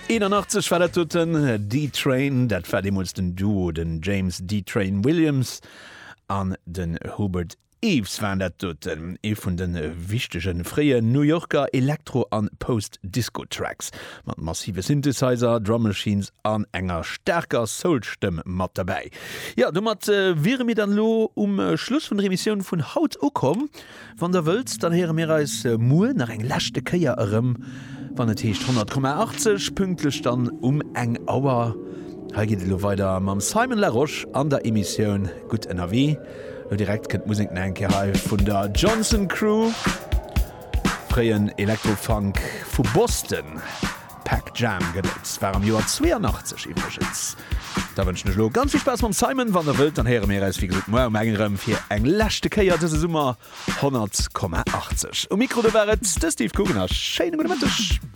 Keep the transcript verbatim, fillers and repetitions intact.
Eenanachtzeg war dat doten, D-Train, dat war deemools den Duo, den James D-Train Williams an den Hubert Eaves waren dat doten, ee vun de wichtege fréien New Yorker Elektro an Post-Disco-Tracks, mat massive Synthesizer, Drum Machines an enger staarker Soul-Stëmm mat derbäi. Jo, domat wiere mir dann elo um Schluss vun der Emissioun vun haut ukomm. Wann der wëllt, dann héiere mir eis muer nach eng leschte Kéier erëm, wann et heescht honnert Komma achtzeg, pünktlech dann um eng Auer. Hei geet et elo weider mam Simon Larosche an der Emissioun Gutt ënnerwee. Elo direkt kënnt d'Musek nach eng Kéier hei vun der Johnson Crew, fréien Elektro-Funk vu Boston. Pac Jam gëtt et, war am Joer zweeanachtzeg iwwregens. Da wënschen ech elo ganz vill Spaass mam Simon. Wann der wëllt, dann héiere mir eis wéi gesot muer um eng erëm fir eng leschte Kéier dëse Summer honnert Komma achtzeg. Um Mikro do war et de Steve Coogan a schéine gudde Mëtteg.